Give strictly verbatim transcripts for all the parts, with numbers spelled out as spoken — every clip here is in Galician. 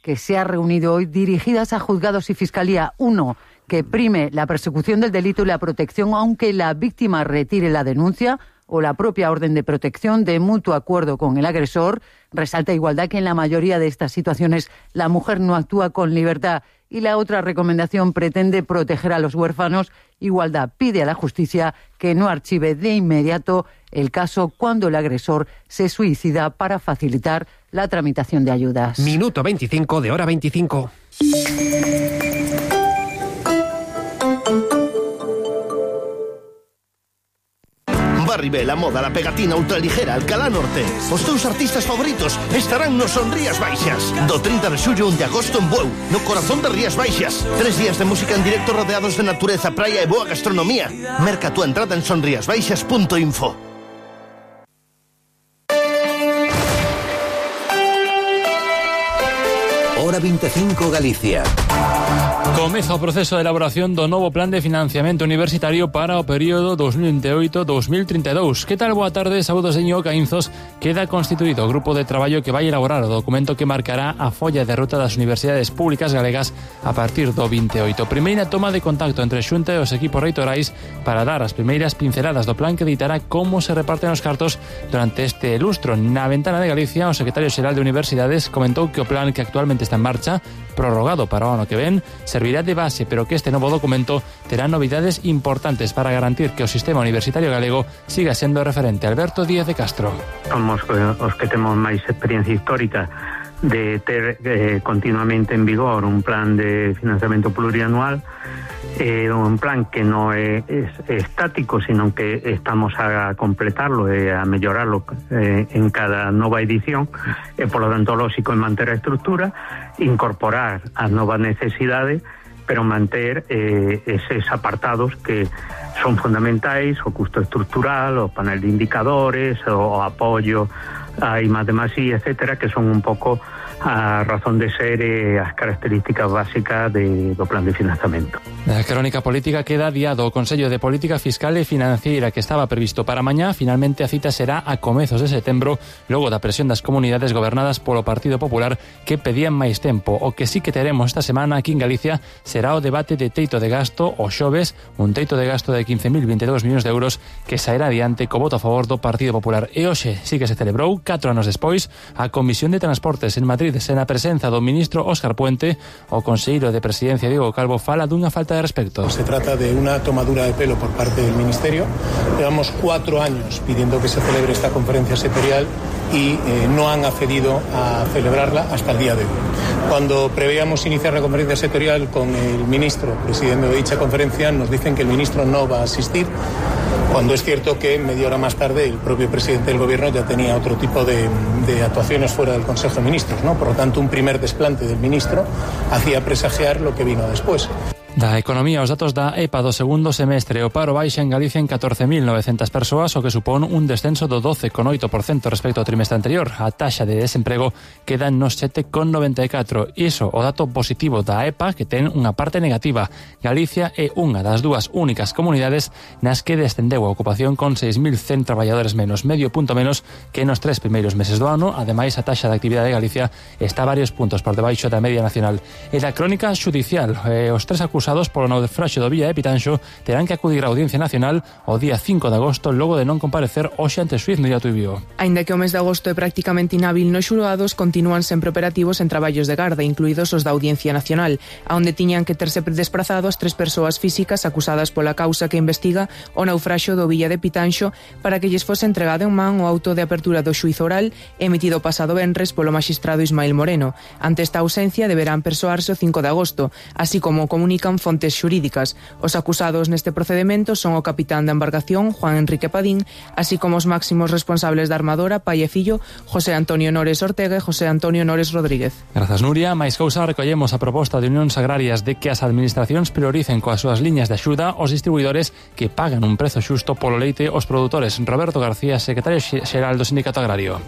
que se ha reunido hoy, dirigidas a juzgados y fiscalía. Uno, que prime la persecución del delito y la protección, aunque la víctima retire la denuncia o la propia orden de protección de mutuo acuerdo con el agresor. Resalta Igualdad que en la mayoría de estas situaciones la mujer no actúa con libertad. Y la otra recomendación pretende proteger a los huérfanos. Igualdad pide a la justicia que no archive de inmediato el caso cuando el agresor se suicida para facilitar la tramitación de ayudas. Minuto veinticinco de hora veinticinco. Arriba la moda, la pegatina ultraligera, Alcalá Norte. Os teus artistas favoritos estarán nos Son Rías Baixas. Do trinta de xullo a un de agosto en Bueu, no corazón de Rías Baixas. Tres días de música en directo rodeados de natureza, praia e boa gastronomía. Merca tu entrada en sonriasbaixas punto info. Hora veinticinco Galicia. Comeza o proceso de elaboración do novo plan de financiamento universitario para o período dos mil veintioito a dos mil trinta e dous. Que tal? Boa tarde, saúdos de Ño Caínzos. Queda constituído o grupo de traballo que vai elaborar o documento que marcará a folla de ruta das universidades públicas galegas a partir do veintioito. Primeira toma de contacto entre a Xunta e os equipos reitorais para dar as primeiras pinceladas do plan que editará como se reparten os cartos durante este lustro. Na ventana de Galicia, o secretario xeral de Universidades comentou que o plan que actualmente está en marcha, prorrogado para o ano que ven, servirá de base, pero que este novo documento terá novidades importantes para garantir que o sistema universitario galego siga sendo referente. Alberto Díaz de Castro. Somos os que temos máis experiencia histórica de ter eh, continuamente en vigor un plan de financiamento plurianual, eh, un plan que non é, é estático, sino que estamos a completarlo e a mellorarlo eh, en cada nova edición, e polo tanto lógico en manter a estrutura, incorporar as novas necesidades, pero manter eh, eses apartados que son fundamentais, o custo estructural, o panel de indicadores, o, o apoio a I más D más I, etcétera, que son un pouco a razón de ser e as características básicas de, do plan de financiamento. A crónica política queda adiado. O Consello de Política Fiscal e Financiera que estaba previsto para mañá, finalmente a cita será a comezos de setembro, logo da presión das comunidades gobernadas polo Partido Popular que pedían máis tempo. O que sí que teremos esta semana aquí en Galicia será o debate de teito de gasto o xoves, un teito de gasto de quince mil veintidós millóns de euros que sairá adiante co voto a favor do Partido Popular. E hoxe sí que se celebrou, catro anos despois, a Comisión de Transportes en Madrid, sen a presenza do ministro Óscar Puente. O conselleiro de Presidencia Diego Calvo fala dunha falta de respecto. Se trata de una tomadura de pelo por parte del Ministerio. Llevamos cuatro años pidiendo que se celebre esta conferencia sectorial y eh, no han accedido a celebrarla hasta el día de hoy. Cuando preveíamos iniciar la conferencia sectorial con el ministro presidiendo dicha conferencia, nos dicen que el ministro no va a asistir, cuando es cierto que media hora más tarde el propio presidente del gobierno ya tenía otro tipo de, de actuaciones fuera del Consejo de Ministros, ¿no? Por lo tanto, un primer desplante del ministro hacía presagiar lo que vino después. Da economía, os datos da E P A do segundo semestre. O paro baixa en Galicia en catorce mil novecentas persoas, o que supón un descenso do doce coma oito por cento respecto ao trimestre anterior. A taxa de desemprego queda nos sete coma noventa e catro. Iso, o dato positivo da E P A, que ten unha parte negativa. Galicia é unha das dúas únicas comunidades nas que descendeu a ocupación con seis mil cen traballadores menos, medio punto menos que nos tres primeiros meses do ano. Ademais, a taxa de actividade de Galicia está varios puntos por debaixo da media nacional. E da crónica xudicial, eh, os tres acusados acusados polo naufraxio do Villa de Pitanxo terán que acudir á Audiencia Nacional o día cinco de agosto logo de non comparecer hoxe ante o xuíz Nuria Tuibio. Aínda que o mes de agosto é prácticamente inhábil nos xulgados, continúan sempre operativos en traballos de garda, incluídos os da Audiencia Nacional, aonde tiñan que terse desplazado as tres persoas físicas acusadas pola causa que investiga o naufraxio do Villa de Pitanxo para que lles fose entregado en man o auto de apertura do xuízo oral emitido pasado venres polo maxistrado Ismael Moreno. Ante esta ausencia deberán persoarse o cinco de agosto, así como comunican fontes xurídicas. Os acusados neste procedimento son o capitán da embarcación, Juan Enrique Padín, así como os máximos responsables da armadora, pai e fillo, José Antonio Nores Ortega e José Antonio Nores Rodríguez. Grazas, Nuria. Mais cousa, recollemos a proposta de Unións Agrarias de que as administracións prioricen coas súas liñas de axuda os distribuidores que pagan un prezo xusto polo leite aos produtores. Roberto García, secretario xeral do Sindicato Agrario.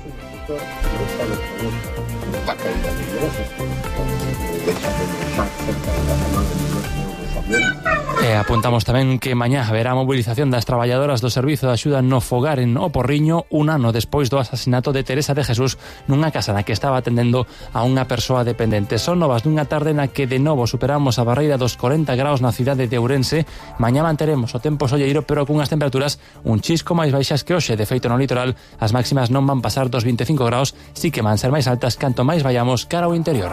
E apuntamos tamén que mañá haberá movilización das traballadoras do Servizo de Axuda no Fogar en O Porriño, un ano despois do asasinato de Teresa de Jesús nunha casa na que estaba atendendo a unha persoa dependente. Son novas dunha tarde na que de novo superamos a barreira dos corenta graus na cidade de Ourense. Mañá manteremos o tempo solleiro, pero cunhas temperaturas un chisco máis baixas que hoxe. De feito, no litoral as máximas non van pasar dos vinte e cinco graus, si que van ser máis altas canto máis vayamos cara ao interior.